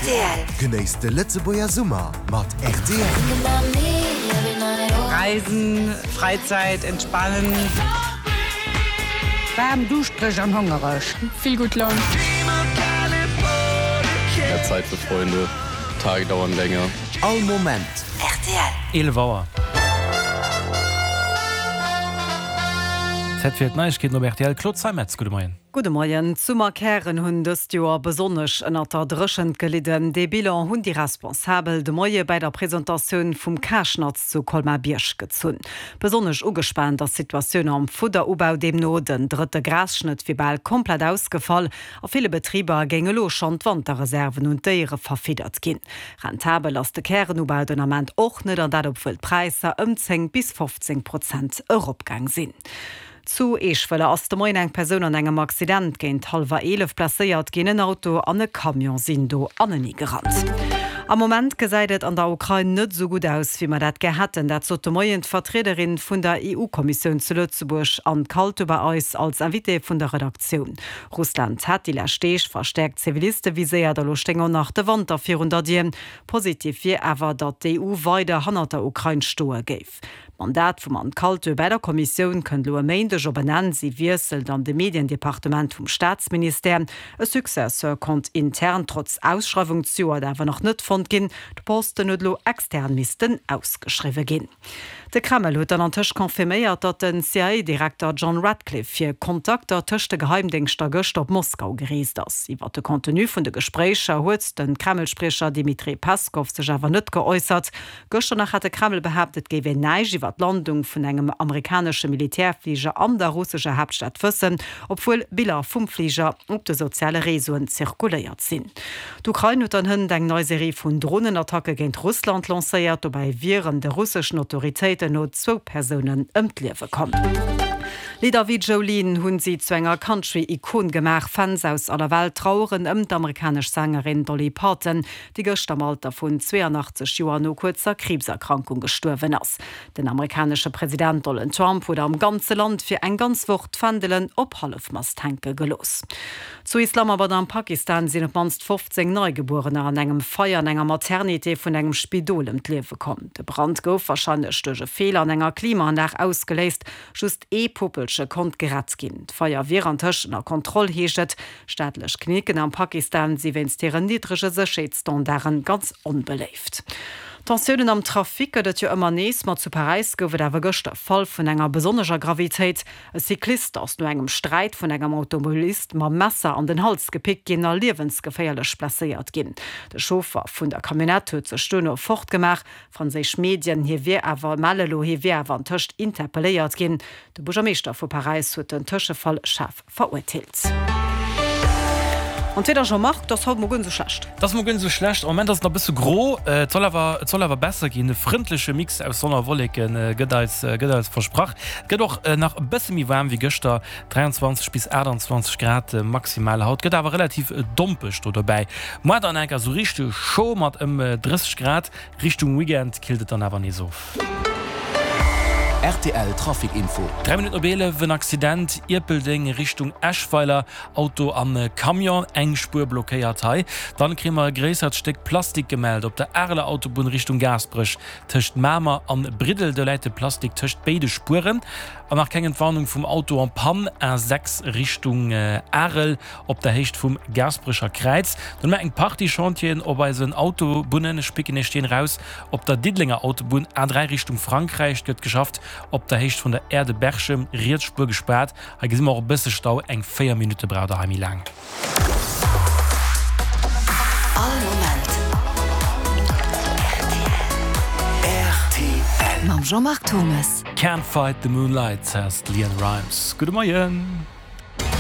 Rtl. Genéisst de Lëtzebuerger Summer mat rtl. Reisen, Freizeit, entspannen. Waarm, duuschtereg an hongereg. Vill gutt Laun. Mehr Zeit für Freunde, Tage dauern länger. All Moment. Rtl. 11 Auer. Zäit fir d'Neiegkeeten op rtl. Claude Zeimetz, gudde Moien. Gudde Moien. D'Summerkären hunn dëst Joer besonnesch ënnert der Dréchent gelidden. Dee Bilan hunn déi Responsabel de Moie bäi der Presentatioun vum Karschnatz zu Colmar-Bierg gezunn. Besonnesch ugespaant ass d'Situatioun am Fudderubau. Deemno den drëtte Grasschnëtt wier bal komplett ausgefall. A ville Betriber géing elo schonn d'Wanterreserven un d'Déiere verfiddert ginn. Rentabel ass de Kärenubau den Ament och net, an dat obwuel d'Präisser ëm 10 bis 15 Prozent eropgaang sinn. Zu Eeschwëller ass de Moien eng Persoun an engem Accident géint hallwer 11 blesséiert ginn. En Auto an e Camion sinn do anenee gerannt. Am Moment gesäit et an der Ukrain net esou gutt aus, wéi mer dat gär hätten. Dat sot de Moien d'Vertriederin vun der EU-Kommissioun zu Lëtzebuerg, Anne Kaltu, bei eis als Invitée vun der Redaktioun. Russland hätt déi lescht Deeg verstäerkt Ziviliste viséiert a lo stéing och nach de Wanter virun der Dier. Positiv wier awer, datt d'EU weider hannert der Ukrain stoe géif. D'Mandat vum Anne Kaltö bäi der Kommissioun kënnt elo e Méindeg op en Enn. Si wiesselt an de Mediendepartement vum Staatsministère. E Successeur konnt intern trotz Ausschreiwung zejoert awer nach net fonnt ginn. De Posten huet elo extern missten ausgeschriwwe ginn. De Kreml huet dann antëscht confirméiert, datt den CIA-Direkter John Ratcliffe fir Kontakter tëscht de Geheimdéngschter gëschter op Moskau gereest ass. Iwwer de Contenu vun de Gespréicher huet de Kreml-Spriecher Dmitri Peskov sech awer net geäussert. Gëschter nach hat de Kreml behaapt, et géif een näischt iwwer d'Landung vun engem amerikanesche Militärfliger an der russescher Haaptstad wëssen, obwuel Biller vum Fliger op de soziale Reseauen zirkuléiert sinn. D'Ukrain huet dann hënt eng nei Serie vun Dronenattacke géint Russland lancéiert. Dobäi wieren de russeschen Autoritéiten no zwou Persounen ëm d'Liewe komm. Lidder wéi Jolene hunn si zu enger Country-Ikon gemaach. Fans aus aller Welt traueren ëm d'amerikanesch Sängerin Dolly Parton, déi gëschter am Alter vun 82 Joer no kuerzer Kriibserkrankung gestuerwen ass. Den amerikanesche President Donald Trump huet am ganze Land fir eng ganz Woch d'Fändelen op Hallefmast hänke gelooss. Zu Islamabad am Pakistan sinn op d'mannst 15 Neigebuerener an engem Feier an enger Maternité vun engem Spidol ëm d'Liewe komm. De Brand gouf warscheinlech duerch e Feeler an enger Klimaanlag ausgeléist. Just ee Puppelche konnt gerett ginn. D'Feier wier antëscht ënner Kontroll, heescht et. Staatlech Klinicken am Pakistan si wéinst hiren niddrege Sécherheetsstandarde ganz onbeléift. Tensiounen am Trafic gëtt et jo ëmmer nees, ma zu Paräis gouf et awer gëschter e Fall vun enger besonnescher Gravitéit. E Cyclist ass no engem Sträit vun engem Automobilist mam Messer an den Hals gepickt ginn a liewensgeféierlech blesséiert ginn. De Chauffer vun der Camionnette huet sech duerno fortgemaach. Franséisch Medien, hie wier awer melle lo, hie wier awer antëscht interpelléiert ginn. De Buergermeeschter vu Paräis huet den Tëschefall schaarf Verurteelt. An d'Wieder Jean-Marc, 't ass haut mol guer net esou schlecht. 't ass mol guer net esou schlecht. Am Moment ass et nach e bësse gro, et soll awer, et soll awer besser ginn. E frëndleche Mix aus Sonn a Wolleke gëtt eis, gëtt eis versprach. Et gëtt och nach e bësse méi waarm wéi gëschter, 23 bis 28 Grad maximal haut. Gëtt awer relativ dompeg do dobäi. Moar dann enker esou richteg scho mat ëm 30 Grad. Richtung Weekend killt et dann awer nees of. Rtl Trafic Info. 3 Minutten op 11, en Accident Ierpeldeng Richtung Eschweiler, Auto an Camion, eng Spuer blockéiert hei. Dann kréie mer e gréissert Stéck Plastik gemellt op der Areler Autobunn Richtung Gaasperech tëscht Mamer an Briddel. Do läit de Plastik tëscht béide Spueren. An nach keng Entwarnung vum Auto en panne, A6 Richtung Arel Op der Héicht vum Gaasperecher Kräiz. Dann hu mer eng Partie Chantieren op eisen Autobunnen. Ech picken Iech deen eraus. Op der Diddelenger Autobunn A3 Richtung Frankräich gëtt geschafft. Op der Héicht vun der Aire de Berchem, riets Spuer gespaart. Hei gesi mer och e bësse Stau, eng 4 Minutte braucht der hei méi laang. All Moment rtl. Mam Jean-Marc Thomes. Can't Fight the Moonlight, says d'Leanne Rimes. Gudde Moien.